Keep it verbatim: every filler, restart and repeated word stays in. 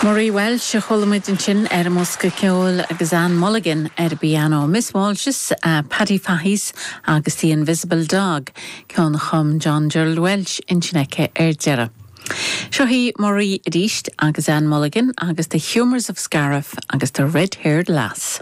Marie Walsh a chuala muid ansin ar an mbosca ceoil agus Anne Mulligan ar piano Miss Walsh's uh, Paddy Fahy's agus The Invisible Dog ceann a chum John Gerald Walsh ansin aici ar deireadh. Seo í Marie arís agus Anne Mulligan agus The Humours of Scariff agus The Red-Haired Lass.